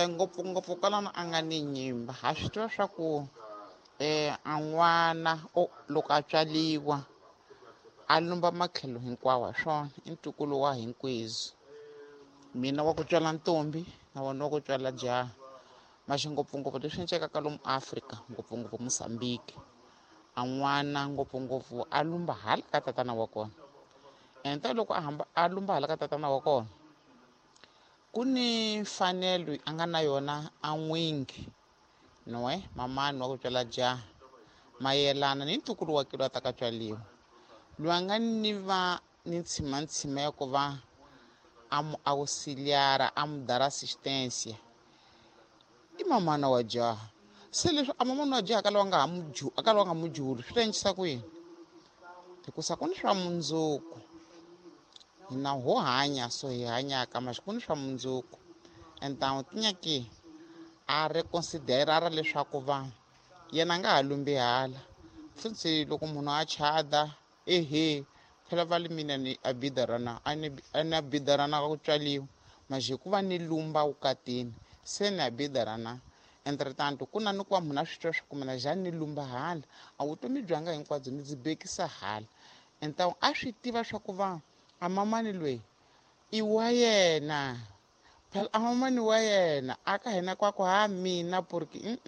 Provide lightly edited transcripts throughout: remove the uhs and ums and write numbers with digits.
Ngopfungopfu kwalano a nga ni nyimba ha swi tiva swa ku a n'wana loko a tswaliwa a lumba matlhelo hinkwawo ha swona i ntukulu wa hinkwezi mina wa ku tswala ntombi na wona wa ku tswala jaha maxi ngopfungopfu leswi encekaka lomu Afrika ngopfungopfu Mozambique a n'wana ngopfungopfu a lumba hala ka tatana wa kona enta loko a hamba a lumba hala ka tatana wa kona ku ni mfanelo a nga na yona a n'wingi noe mamani wa ku tswala jaha mayelana ni ntukulu wa kilo a ta ka tswaliwa loyi a nga ni va ni ntshimantshima ya ku va a mu auxiliara a mu dara assistência i mamana wa jaha se leswi a mamana wa jaha ka lowa nga ha ka lowa nga mujuli swi ta endlisa ku yini hikusa ku ni swa mundzuku hina ho hanya so hi hanyaka maxi ku ni swa mundzuku entawu tinyaki a reconsiderara leswaku va yena a nga ha lumbi hala futhi loko munhu a chada ehe phela va le mina ni a bidarana a ni a bidarana ka ku tswaliwa maxi hikuva ni lumba vukatini se ni a bidarana entretanto ku na ni ku va munhu a swi twa swa ku mina njhani ni lumba hala a vutomi byanga hinkwabyo ni byi bekisa hala entawu a swi tiva swa ku va a mamani loyi i wa yena phela a mamani wa yena a ka hina kwaku ha mina porque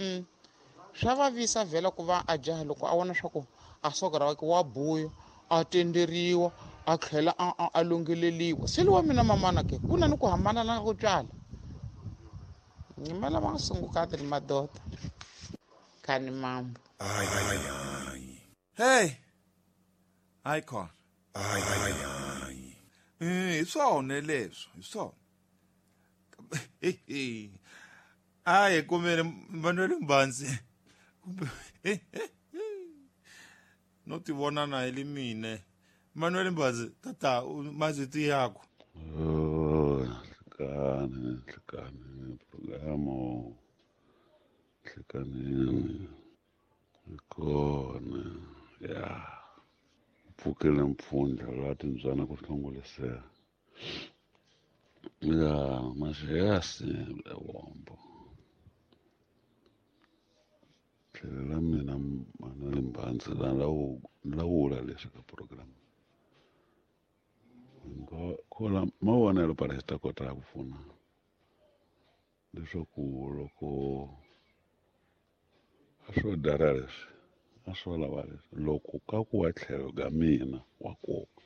swa vavisa vhela ku va a jaha loko a vona swa ku a soka ra wake wa buya a tenderiwa a tlhela a lungheleliwa se lowa mina mamana ke ku na ni ku hambana na ku tswala nyima lava nga sungukati ni madoda khani mambo hey hayi khona hi swona leswo hi swona hayi kumele Manuel Mbanzi kumbe no ti vona na hi le mine Manuel Mbanzi tata mazito yakho hlekani hlekani programo hlekanini kona ya pfukele mpfundla laha timbyana ku hlongolisela ya maxiyasi wombo tlhelo la mina Manuel Mbanzi lawula leswi ka program khola mavonelo para xi ta kota ku pfuna leswaku loko a swo dara leswi a swo lava leswi loko ka ku wa tlhelo ka mina wa koka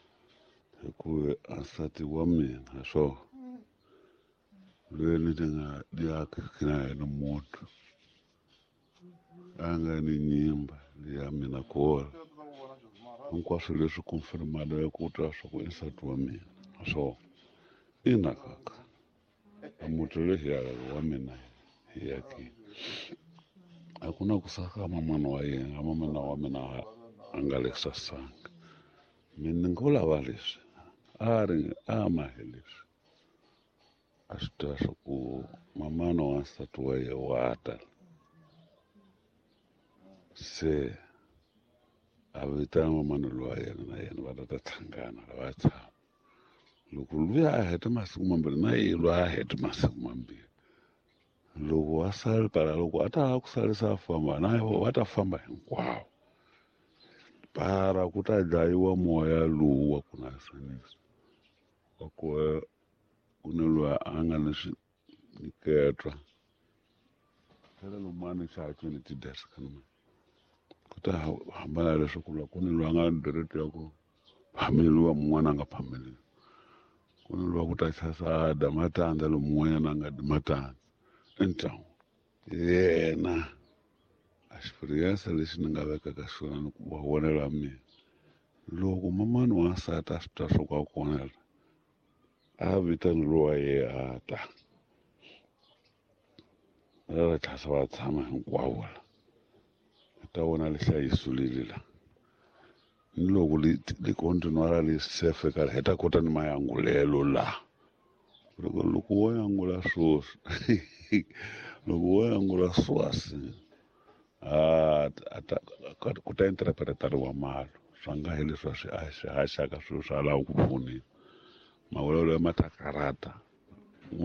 hikuva a nsati wa mina swo loyi ni ti nga diaki na yena munhu a nga ni nyimba liya mina kola hinkwaswo leswi confirmada ya ku twa swa ku i nsati wa mina swo ina kaka a muti lexi wa mina hi yakini a ku na ku saka mamana wa yena mamana wa mina a nga le sasanga mina ni ngo lava leswi a ri a mahe leswi a swi tiva swa ku mamana wa nsati wa ye wa ta se a vitana mamana lowa yena na yena va ta ta hlangana va tshama loko luya a hete masiku mambirhi na ye loyi a hete masiku mambirhi loko a sale para loko a ta lava ku salisa a famba na va ta famba hinkwawo para ku ta dlayiwa moya lowu wa ku na sanisa wa ku ku ni loyi a nga ni swinyiketwa phela lomani xatswini ti-desk ku ta hambana leswaku loko ku ni loyi a nga ni direct ya ku phameliwa mun'wana a nga phameliwi ku ni loyi ku ta chasa dya matandza lomu mun'wanyana a nga dyi matandza entlangu yena a experience lexi ni nga vekaka xona ni ku va vonela mina loko mamani wa nsati a swi twa swo ka kona a vitani lowa ye a ta va tlhasa va tshama hinkwavo la ta vona lihlayiso leli la ni loko li continuara li sefe ka hi ta kota ni mayangulelo la loko loko wo yangula swoswi loko wo yangula swasi a ku ta interpretariwa malo swa nga hi leswi a swi haxaka swilo swa lava ku pfuniwa mavulavulo ya ma ta karata